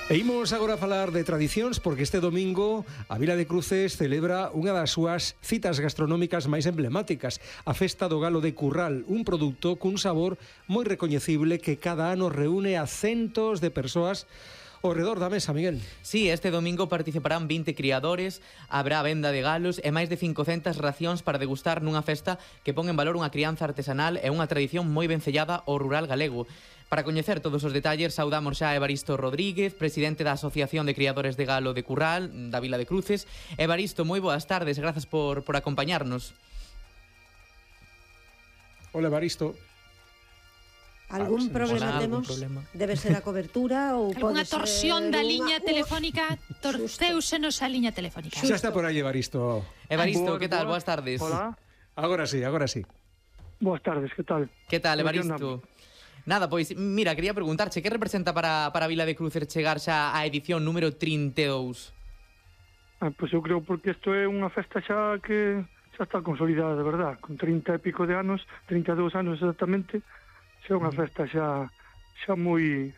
E imos agora falar de tradicións porque este domingo a Vila de Cruces celebra unha das súas citas gastronómicas máis emblemáticas, a Festa do Galo de Curral, un produto cun sabor moi recoñecible que cada ano reúne a centos de persoas ao redor da mesa, Miguel. Sí, este domingo participarán 20 criadores, habrá venda de galos e máis de 500 racións para degustar nunha festa que pon en valor unha crianza artesanal e unha tradición moi vencellada ao rural galego. Para coñecer todos os detalles, saudamos xa a Evaristo Rodríguez, presidente da Asociación de Criadores de Galo de Curral, da Vila de Cruces. Evaristo, moi boas tardes, grazas por acompañarnos. Hola, Evaristo. Algún problema temos? Debe ser a cobertura ou alguna torsión da liña telefónica, torcéusenos a liña telefónica. Xa está por aí, Evaristo. Evaristo, que tal? Boas tardes. Hola. Agora sí. Boas tardes, que tal? Que tal, Evaristo? Nada, pois, mira, quería preguntarche, que representa para a Vila de Cruces chegar xa á edición número 32? Pois eu creo porque isto é unha festa xa que xa está consolidada, de verdad, con 30 e pico de anos, 32 anos exactamente, xa é unha festa xa moi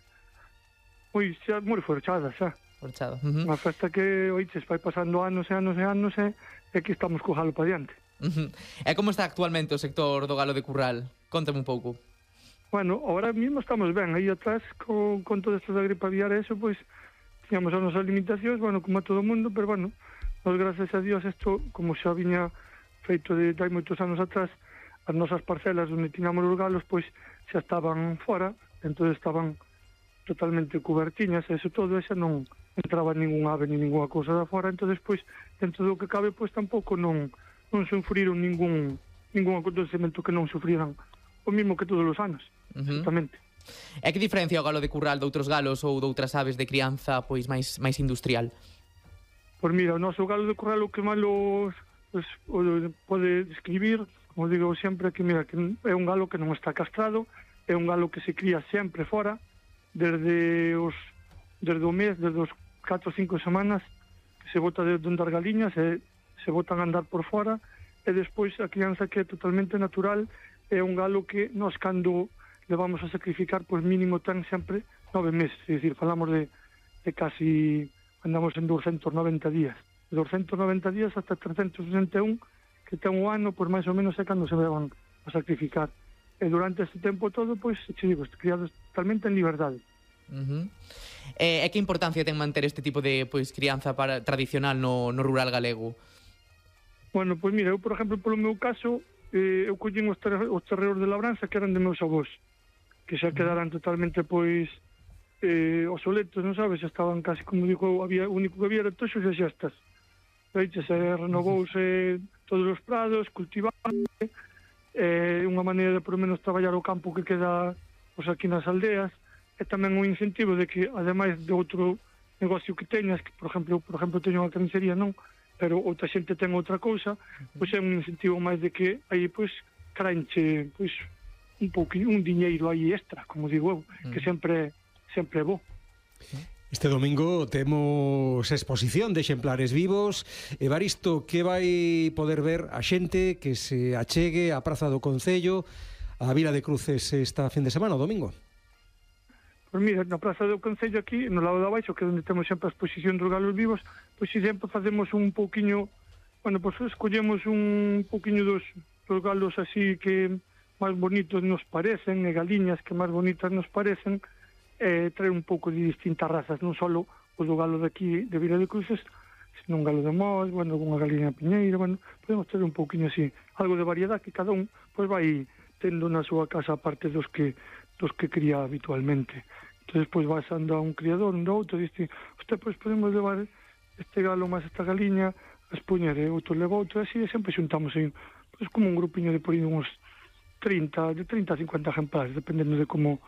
forchada xa. Forchada. Unha festa que, oiches, vai pasando anos e anos e anos e que estamos co galo para diante. E como está actualmente o sector do galo de Curral? Contame un pouco. Bueno, ahora mismo estamos ben, aí atrás con todo esto da gripe aviar e eso, pois tiñamos as nosas limitacións, bueno, como a todo o mundo, pero bueno, nos gracias a Dios isto, como xa viña feito de hai moitos anos atrás, as nosas parcelas onde tiñamos os galos, pois xa estaban fora, entón estaban totalmente cubertiñas, e eso todo, e xa non entraba ningún ave ni ninguna cousa da fora, entón pois, dentro do que cabe, pois tampouco non sufriron ningún acontecemento que non sufriran o mismo que todos os anos. Exactamente. E que diferencia o galo de Curral de outros galos ou de outras aves de crianza pois máis industrial? Pois mira, o noso galo de Curral o que malo pode describir, como digo sempre, que mira, que é un galo que non está castrado, é un galo que se cría sempre fora, desde os 4 ou 5 semanas que se bota de onde as galiñas e se botan a andar por fora, e despois a crianza que é totalmente natural é un galo que nós cando levamos a sacrificar, pois mínimo ten sempre 9 meses, é dicir, falamos de casi, andamos en 290 días. De 290 días hasta 361, que ten un ano, pois máis ou menos é cando se levan a sacrificar. E durante este tempo todo, pois, te digo, criados totalmente en liberdade. E que importancia ten manter este tipo de crianza tradicional no rural galego? Bueno, pois mira, eu, por exemplo, polo meu caso, eu collín os terreos de labranza que eran de meus avós, que xa quedaran totalmente obsoletos, non sabes, estaban casi, como digo, o único que había era toxos e xestas. Se renovouse todos os prados, cultiváronse, unha maneira de por menos traballar o campo que queda aquí nas aldeas, e tamén un incentivo de que, ademais de outro negocio que teñas, que, por exemplo, teño unha carnicería, non, pero outra xente ten outra cousa, pois é un incentivo máis de que aí, pois, craenche, pois, un diñeiro aí extra, como digo eu, que sempre é bo. Este domingo temos exposición de exemplares vivos. Evaristo, que vai poder ver a xente que se achegue á Praza do Concello, a Vila de Cruces esta fin de semana, o domingo? Pois mira, na Praza do Concello aquí, no lado de abaixo, que é onde temos sempre a exposición dos galos vivos, pois sempre facemos un pouquiño, bueno, pois escollemos un pouquiño dos galos así que máis bonitos nos parecen, e galiñas que máis bonitas nos parecen, traer un pouco de distintas razas, non só o do galo de aquí, de Vila de Cruces, sino un galo de Mos, bueno, unha galiña piñeira, bueno, podemos traer un pouquiño así, algo de variedade que cada un pois vai tendo na súa casa aparte dos que cría habitualmente. Entón, pois vas ando a un criador, un outro, e dice, pois podemos levar este galo máis esta galiña, a expoñer, e outro leva outro, e así, sempre xuntamos aí, pois como un grupiño de por aí uns 30 a 50 ejemplares, dependendo de como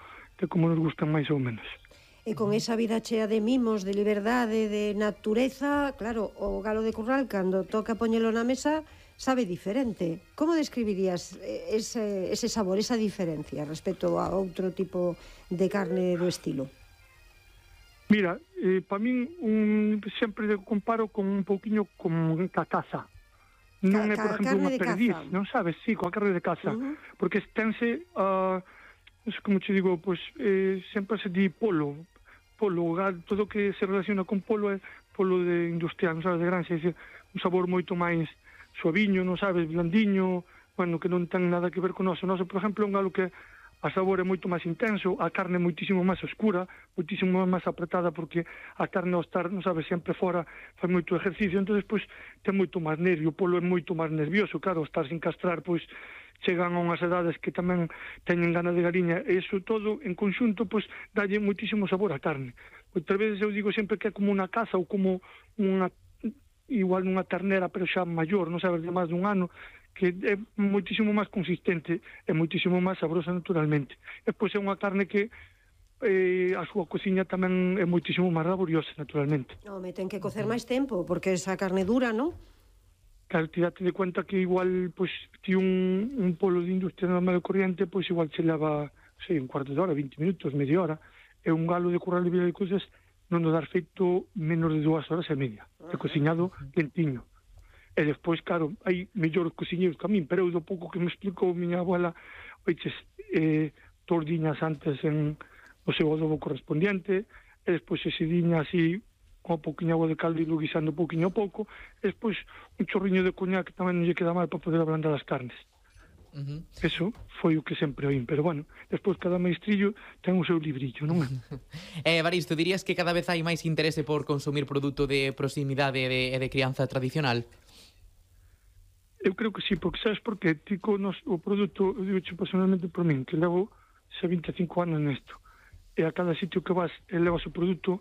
nos gustan máis ou menos. E con esa vida chea de mimos, de liberdade, de natureza, claro, o galo de Curral, cando toca poñelo na mesa, sabe diferente. Como describirías ese sabor, esa diferencia respecto a outro tipo de carne do estilo? Mira, para min sempre comparo con un pouquiño con a caza. Non é, por exemplo, unha perdiz, non sabes? Sí, coa carne de caza. Porque tense, como te digo, sempre se di polo, polo, todo o que se relaciona con polo é polo de industrial, non sabes, de granja, é dicir, un sabor moito máis suaviño, non sabes, blandiño, bueno, que non ten nada que ver con noso. Noso, por exemplo, é un galo que a sabor é moito máis intenso, a carne é moitísimo máis oscura, moitísimo máis apretada, porque a carne ao estar, non sabes, sempre fora, fai moito exercicio, entón, pois, ten moito máis nervio, o polo é moito máis nervioso, claro, ao estar sin castrar, pois, chegan a unhas edades que tamén teñen gana de galiña, e iso todo, en conxunto, pois, dalle moitísimo sabor á carne. Outras veces eu digo sempre que é como unha caza ou como unha, igual unha ternera, pero xa maior, non sabes, de máis dun ano, que é moitísimo máis consistente e moitísimo máis sabrosa naturalmente. E pois é unha carne que a súa cociña tamén é moitísimo máis laboriosa naturalmente. Home, ten que cocer máis tempo, porque esa carne dura, non? Claro, te date de cuenta que igual, pois, ti un polo de industria normal e corriente, pois igual se leva, sei, un cuarto de hora, 20 minutos, media hora, e un galo de Curral de Vila de Cruces non nos dar feito menos de 2 horas e media, de cociñado lentiño. E despois, claro, hai mellores cociñeiros que a min, pero eu do pouco que me explicou miña abuela, oiches, tordiñas antes en o seu adobo correspondiente, e despois sediña así, con un poquinho agua de caldo e lo guisando pouquinho a pouco, e despois un chorriño de coñac que tamén non lle queda mal para poder ablandar as carnes. Eso foi o que sempre oín, pero bueno, despois cada maestrillo ten o seu librillo, non é? Evaristo, dirías que cada vez hai máis interese por consumir produto de proximidade e de crianza tradicional? Eu creo que sí, porque sabes por qué? Ti con o produto, eu digo personalmente por min, que levo 25 anos nesto, e a cada sitio que vas e levas o produto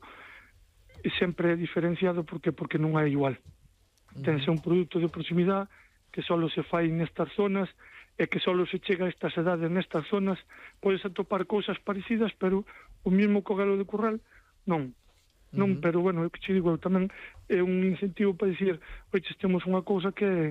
sempre é diferenciado porque non é igual. Tense un produto de proximidade que só se fai nestas zonas e que só se chega a estas edades nestas zonas, podes atopar cousas parecidas, pero o mismo co galo de curral, non. Non, pero bueno, eu que che digo, tamén é un incentivo para dicir, oiches, temos unha cousa que é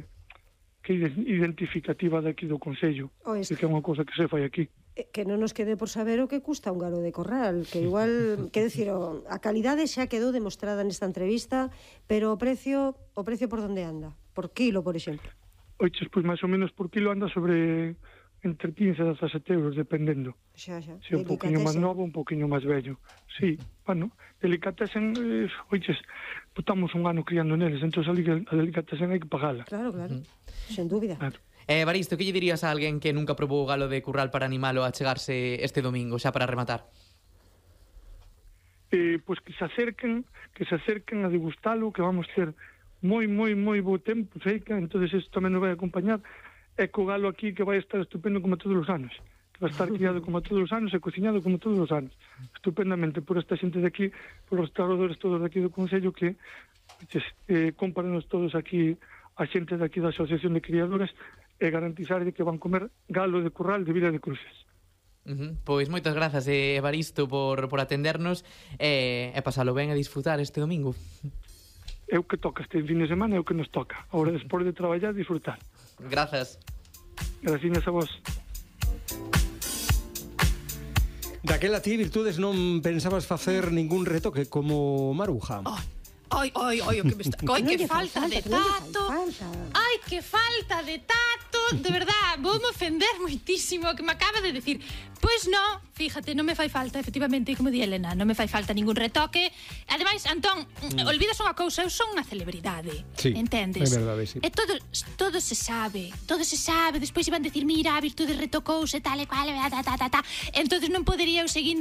identificativa daqui do Concello, que é unha cousa que se fai aquí. Que non nos quede por saber o que custa un galo de corral, que igual, quero dicir, a calidade xa quedou demostrada nesta entrevista, pero o precio por onde anda? Por kilo, por exemplo? Oiches, pois máis ou menos por kilo anda sobre entre 15 e 17 euros, dependendo. Xa. Se un poquinho máis novo, un poquinho máis vello. Sí, bueno, delicatessen, oiches, estamos un ano criando neles, entón a delicatessen hai que pagala. Claro, sen dúbida. Claro. Evaristo, que lle dirías a alguén que nunca probou o galo de curral para animalo a chegarse este domingo, xa para rematar? Pois que se acerquen a degustalo, que vamos ter moi bo tempo, seica, entonces isto tamén nos vai acompañar, e co galo aquí que vai estar estupendo como todos os anos, que vai estar criado como todos os anos e cociñado como todos os anos, estupendamente por esta xente de aquí, por os restauradores todos de aquí do Concello, que comparanos todos aquí a xente de aquí da Asociación de Criadores e garantizar que van comer galo de curral de Vila de Cruces. Pois moitas grazas, Evaristo, por atendernos e pasalo ben a disfrutar este domingo. É o que toca este fin de semana, é o que nos toca. Agora, despois de traballar, disfrutar. Grazas. Gracias a vos. Daquela ti, Virtudes, non pensabas facer ningún retoque como Maruja? Ai, o que me está... Ai, que falta de tato. Ai, que falta de tato. De verdad, vou me ofender moitísimo que me acaba de decir. Pois non, fíjate, non me fai falta, efectivamente, como di Elena, non me fai falta ningún retoque. Ademais, Antón, olvidas unha cousa, eu son unha celebridade, sí, entendes? É verdade, sí. E todo se sabe, despois iban decir, mira, a Virtude retocouse, tal e cual, ta. Entonces non podería eu seguir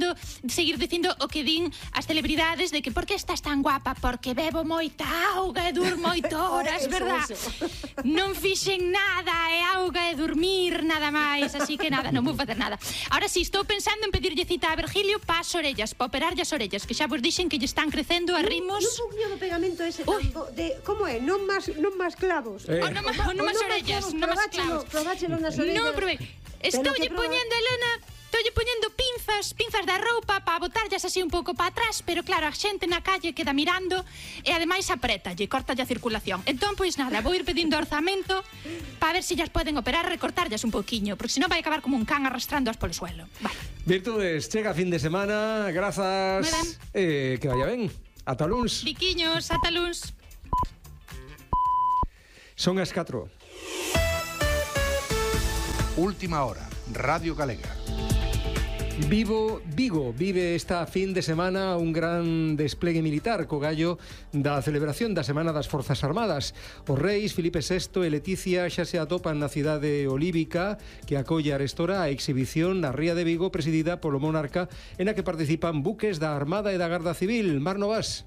dicindo o que din as celebridades de que por que estás tan guapa, porque bebo moita auga e durmo 8 horas, verdad? Non fixen nada, é auga e dormir, nada máis, así que nada, non vou facer nada. Ahora sí, estou pensando en pedirlle cita a Virgilio para as orellas, para operarlle as orellas, que xa vos dixen que lle están crecendo a rimos. Non poñía no pegamento ese tampo de, como é? Non máis clavos. Non máis orellas, non máis clavos. Probáchelo nas orellas. Non, probei. Estoulle poñendo, Elena, pinzas da roupa para botarllas así un pouco para atrás, pero claro, a xente na calle queda mirando e ademais aprettalle, cortalle a circulación. Entón, pois nada, vou ir pedindo orzamento para ver se llas poden operar, recortarllas un pouquiño, porque senón vai acabar como un can arrastrándoas polo suelo. Vale. Virtudes, chega fin de semana, grazas. Que vaya ben. Ata luns. Biquiños, ata luns. Son as 4. Última hora, Radio Galega. Vigo vive esta fin de semana un gran desplegue militar co gallo da celebración da Semana das Forzas Armadas. Os reis Filipe VI e Leticia xa se atopan na cidade olívica que acolle arestora a exhibición na Ría de Vigo presidida polo monarca en a que participan buques da Armada e da Garda Civil. Mar Novas.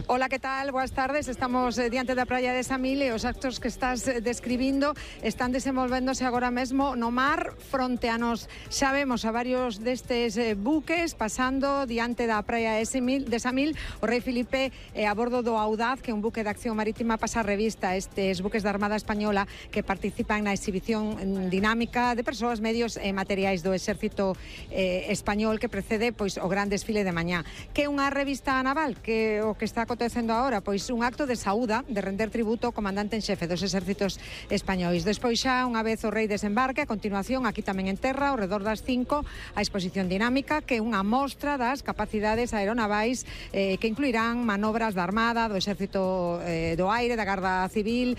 Hola, ¿qué tal? Buenas tardes. Estamos diante da praia de Samil e os actos que estás describindo están desenvolvéndose agora mesmo no mar fronte a nos. Xa vemos a varios destes buques pasando diante da praia de Samil. O rei Filipe a bordo do Audaz, que é un buque de acción marítima, pasa a revista estes buques da Armada Española que participan na exhibición dinámica de persoas, medios e materiais do exército español que precede pois o gran desfile de mañá. Que é unha revista naval, que o que está acontecendo agora, pois un acto de saúda, de render tributo ao comandante en xefe dos exércitos españois. Despois xa, unha vez o rei desembarque, a continuación, aquí tamén en terra, ao redor das 5, a exposición dinámica, que é unha mostra das capacidades aeronavais que incluirán manobras da Armada, do Exército do Aire, da Garda Civil,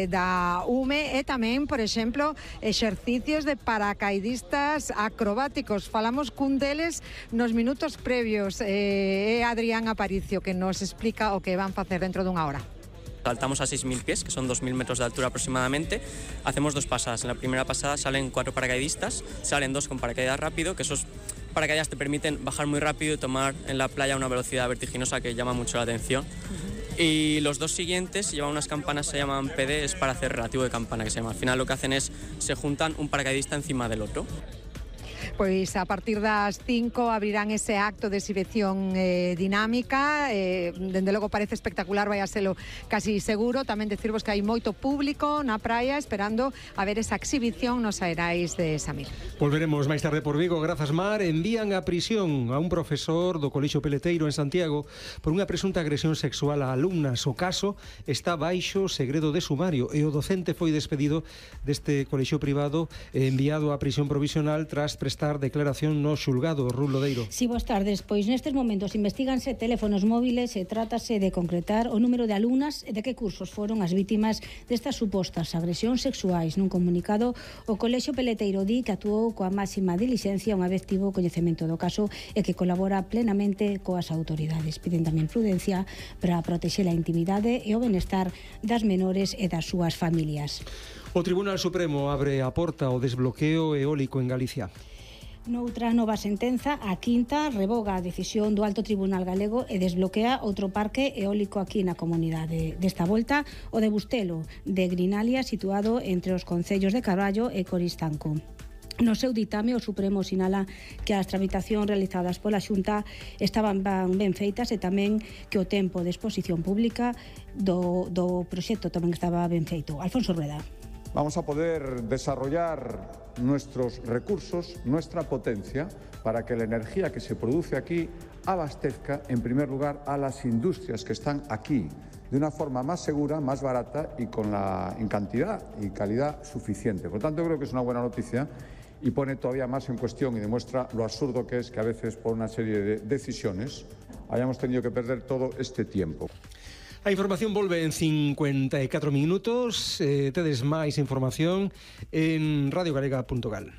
da UME e tamén, por exemplo, exercicios de paracaidistas acrobáticos. Falamos cun deles nos minutos previos. É Adrián Aparicio que nos explica o que van a facer dentro dunha hora. Saltamos a 6.000 pies, que son 2.000 metros de altura aproximadamente. Hacemos dos pasadas. En la primera pasada salen 4 paracaidistas, salen 2 con paracaídas rápido, que esos paracaídas te permiten bajar muy rápido y tomar en la playa una velocidad vertiginosa que llama mucho la atención. Y los dos siguientes llevan unas campanas, se llaman PD, es para hacer relativo de campana, que se llama. Al final lo que hacen es, se juntan un paracaidista encima del otro. Pois a partir das 5 abrirán ese acto de exhibición dinámica. Dende logo parece espectacular, vai a selo casi seguro. Tamén decirvos que hai moito público na praia esperando a ver esa exhibición nos aerais de Samil. Volveremos máis tarde por Vigo. Grazas, Mar. Envían a prisión a un profesor do Colexio Peleteiro en Santiago por unha presunta agresión sexual a alumnas. O caso está baixo segredo de sumario e o docente foi despedido deste colexio privado e enviado á prisión provisional tras prestar declaración no xulgado. Rulo Deiro. Si, boas tardes. Pois nestes momentos investiganse teléfonos móviles e trátase de concretar o número de alumnas e de que cursos foron as vítimas destas supostas agresións sexuais. Nun comunicado, o Colexio Peleteiro di que actuou coa máxima dilixencia unha vez tivo coñecemento do caso e que colabora plenamente coas autoridades. Piden tamén prudencia para protexer a intimidade e o benestar das menores e das súas familias. O Tribunal Supremo abre a porta ao desbloqueo eólico en Galicia. Noutra nova sentenza, a quinta revoga a decisión do Alto Tribunal Galego e desbloquea outro parque eólico aquí na comunidade. Desta volta, o de Bustelo, de Grinalia, situado entre os concellos de Carballo e Coristanco. No seu ditame, o Supremo sinala que as tramitacións realizadas pola Xunta estaban ben feitas e tamén que o tempo de exposición pública do proxecto tamén estaba ben feito. Alfonso Rueda. Vamos a poder desarrollar nuestros recursos, nuestra potencia, para que la energía que se produce aquí abastezca, en primer lugar, a las industrias que están aquí, de una forma más segura, más barata y en cantidad y calidad suficiente. Por lo tanto, creo que es una buena noticia y pone todavía más en cuestión y demuestra lo absurdo que es que a veces, por una serie de decisiones, hayamos tenido que perder todo este tiempo. A información volve en 54 minutos. Tedes máis información en radiogalega.gal.